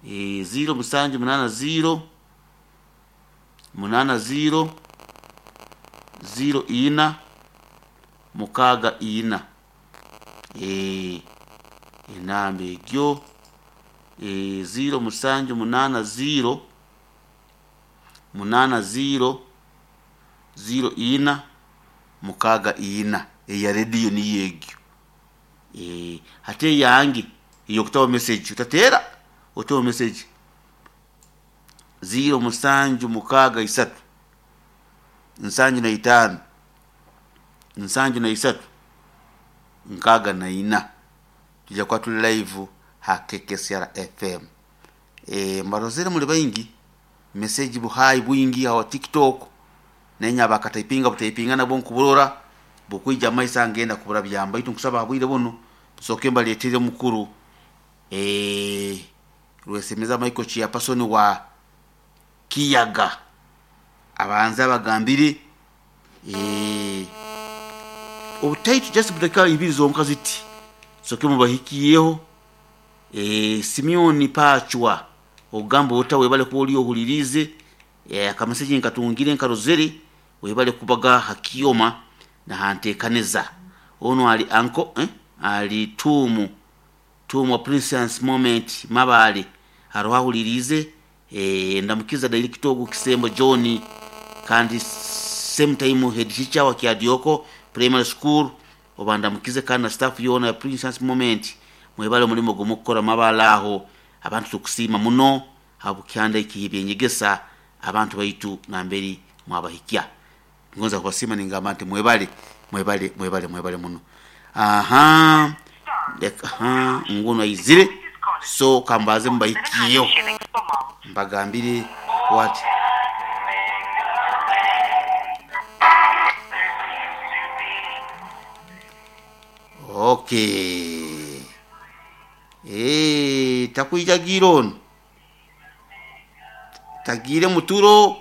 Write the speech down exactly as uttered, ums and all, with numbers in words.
e, ziro musanju munana ziro munana ziro ziro ina mukaaga ina. E, enamba egyo e, ziro musanju munana ziro munana ziro ziro ina mukaaga ina, eya rediyo niyo egyo. E, hati eyange eyokutaho message, otateera, oteho message ziro musanju mukaaga isatu nsanju na itaano nsanju na isatu nkaaga na ina. Tujja kuba tuli live ha K K C R F M. E, mbarozere muli baingi message buhai bwingi aho TikTok, nenya bakataipinga butaipinga nabo nkuburora bukwija maisa ngenda kubura byamba itu nkusaba abwire buno soke mbaletere mukuru eh Rwesemeza Michael chairperson wa Kiyaga abanza bagambire eh obutaitu just budaka ibiri zonka ziti soke mubahikiyeho. eh Simeon Pachwa ogamba otawe bale kuoli ohulirize eh akameseji nkatungire nkarozere webale kubaga hakioma na hantekaneza ono ali anko eh ali tumu tumu Princess Moment mabale haruhulirize eh ndamukiza daily kitogo kisembo John kandi same time head teacher wa Kiadioko Primary School obandamukize kandi na staff yona Princess Moment mwebale mulimo gomukora mabala aho abantu tukusima muno habukyanda ikibyenyegesa abantu baitu namberi mwabahikia ngonza kubasima ningamba nti mwebale mwebale mwebale mwebale muno. Aha, leka ha ngono izire so kambaze mbahikiyo mbagambire what okay eh takuija giron tagire muturo